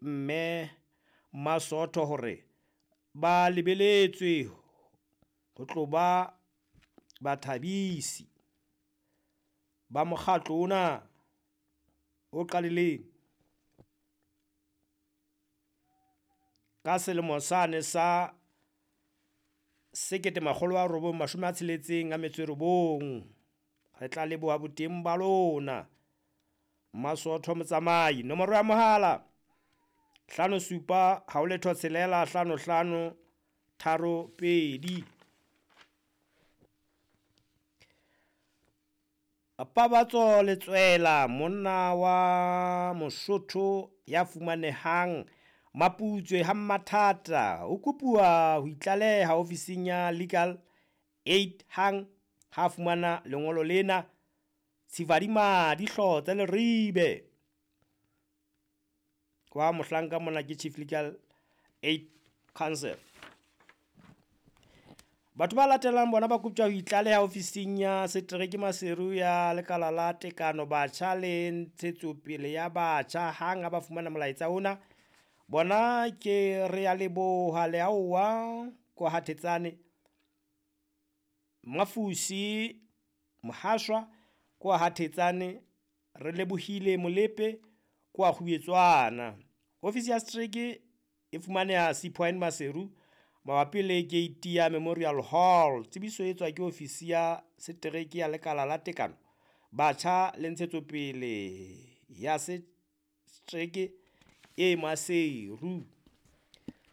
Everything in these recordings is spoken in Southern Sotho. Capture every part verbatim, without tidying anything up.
Mme Masotho hore ba lebeletswe ho tlo ba bathabisi ba mokgatlo ona o qadileng ka selemo sane sa sekete makgolo a robong mashome a tsheletseng a metso e robong. Re tla leboha boteng ba lona Masotho Motsamai. Nomoro ya mohala hlano supa ha ho letho tshelela hlano hlano tharo pedi. Pabatso Letswela, monna wa Mosotho ya fumanehang Maputswe ha Mmathata, o kopuwa ho itlaleha ofising ya Legal Aid hang ha fumana lengolo lena. Tshifadimadi Hlotse Leribe wa mohlanka mona ke Chief Legal Aid Council. Batho ba latelang bona ba koptjwa ho itlaleha ofising ya setereke Maseru ya lekala la tekano batjha le ntshetsopele ya batjha hang ha ba fumana molaetsa ona. Bona ke re ya leboha Leaowa ko ha Thetsane, Mafusi Mohashwa ko ha Thetsane, re lebohile Molepe ko ha Kgubetswana. Ofisi ya setereke e fumaneha Sea Point Maseru mabapi le gate ya Memorial Hall. Tsebiso e etswa ke ofisi ya setereke ya lekala la tekano batjha le ntshetsopele ya setereke e Maseru.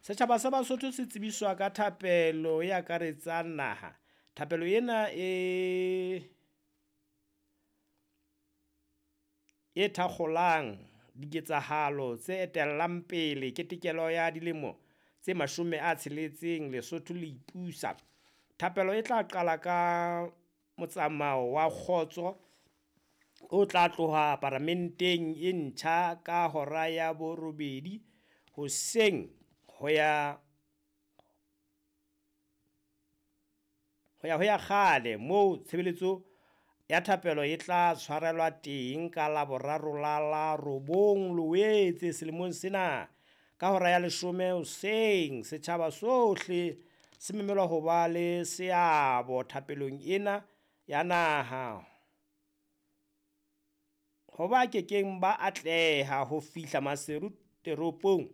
Setjhaba sa Basotho se tsebiswa ka thapelo e akaretsang naha. Thapelo ena e e thakgolang diketsahalo tse etellang pele ketekelo ya dilemo tse mashome a tsheletseng Lesotho le ipusa. Thapelo e tla qala ka motsamao wa kgotso o tla tloha paramenteng e ntjha ka hora ya borobedi hoseng ho ya ho ya ho ya kgale moo tshebeletso ya thapelo e tla tshwarelwa teng ka Laboraro la la robong Loetse selemong sena ka hora ya leshome hoseng. Setjhaba sohle se memelwa ho ba le seabo thapelong ena ya naha. Ho ba kekeng ba atleha ho fihla Maseru teropong,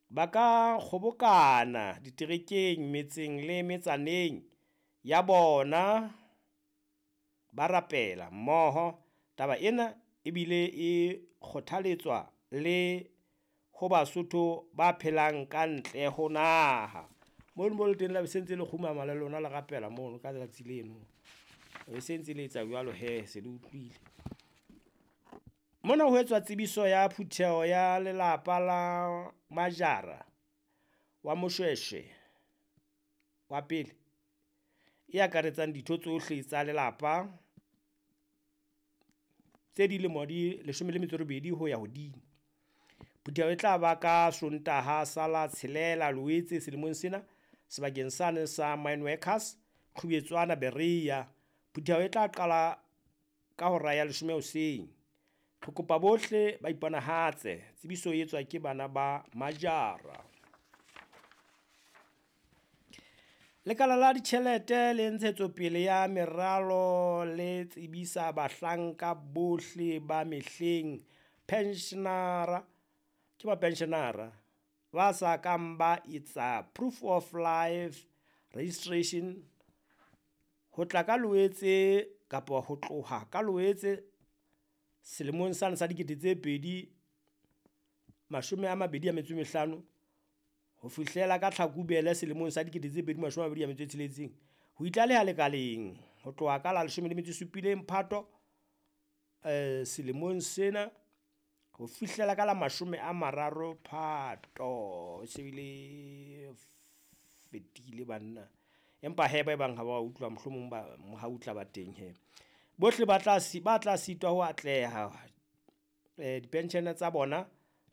ba ka kgobokana diterekeng, metseng le metsaneng ya bona, ba rapela mmoho. Taba ena ebile e kgothaletswa le ho Basotho ba phelang ka ntle ho naha. Mono mo le teng la be se ntse le kgumama le lona le rapela mono ka tsatsi leno. E se ntse le etsa jwalo hee, se le utlwile. Mona ho etswa tsebiso ya phutheho ya lelapa la Majara wa Moshweshwe wa pele, e akaretsang ditho tsohle tsa lelapa tse dilemo di leshome le metso e robedi ho ya hodimo. Phutheho e tla ba ka Sontaha sa la tshelela Loetse selemong sena sebakeng sane sa Mine Workers, Kgubetswana Berea. Phutheho e tla qala ka hora ya leshome hoseng. Re kopa bohle ba iponahatse. Tsebiso e etswa ke bana ba Majara. Lekala la ditjhelete le ntshetsopele ya meralo le tsebisa bahlanka bohle ba mehleng pensionera, ke ba pensionera ba sa kang ba etsa proof of life registration ho tla ka Loetse kapa ho tloha ka Loetse selemong sane sa dikete tse pedi mashome a mabedi a metso e mehlano ho fihlela ka Tlhakubele selemong sa dikete tse pedi mashome a mabedi a metso e tsheletseng. Ho itlaleha lekaleng ho tloha ka la leshome le metso e supileng Phato eh selemong sena ho fihlela ka la mashome a mararo Phato. E se bile fetile banna, empa hee ba ebang ha ba utlwa mohlomong ba mohau o tla ba teng hee. Bohle ba tla ba tla sitwa ho atleha dipenshene tsa bona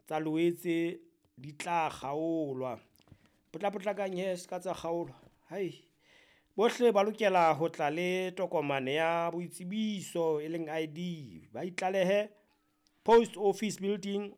tsa Loetse di tla kgaolwa. Potlapotlakang hee se ka tsa kgaolwa, hai. Bohle ba lokela ho tla le tokomane ya boitsebiso e leng I D, ba itlalehe Post Office Building